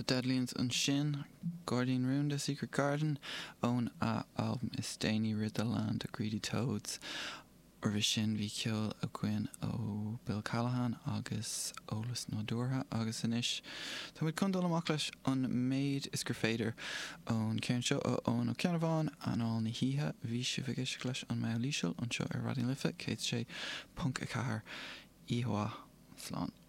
Deadlions ansin, Gairdín Rúnda, Secret Garden, ón a albam is déanaí Rid the Land of Greedy Toads. Roimhe sin bhí ceol againn ó Bill Callahan agus Eolas Nádúrtha agus anois táimid chun dul amach leis an méid is gur féidir ón cheann seo ó Eoin Ó Ceannabháin, Anáil na hOíche. Bhí sibh ag éisteacht leis an Meall Íseal anseo ar Raidió na Life 106.4. Oíche mhaith. Slán.